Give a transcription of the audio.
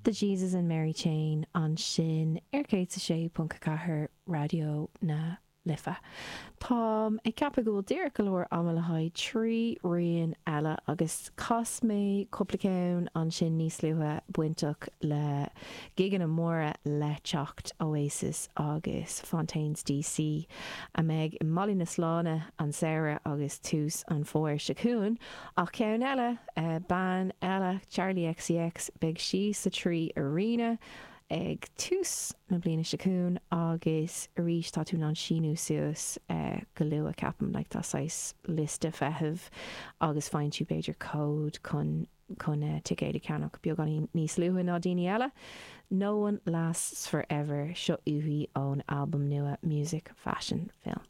The Jesus and Mary Chain ansin ar 106.4 Raidió na Life. Táim ag ceapadh go bhfuil díreach go leor ama le haghaidh 3 rian eile agus chas mé cúpla ceann ansin níos luaithe bainteach le gigeanna móra le teacht, Oasis agus Fontaines DC a mbeidh i mBaile na Sláine an samhradh agus tús an fhómhair seo chugainn. Ach ceann eile, bean eile, Charli XCX, beidh sí sa 3 Arena ag tús na bliana seo chugainn agus arís tá tú in ann síniú suas go luath ceapaim, like tá saghas liosta feithimh agus faigheann tú b'fhéidir cód chun chun ticéad a cheannach beagáinín níos luaithe ná daoine eile. No One Lasts Forever, seo uaithi ón albam nua Music Fashion Film.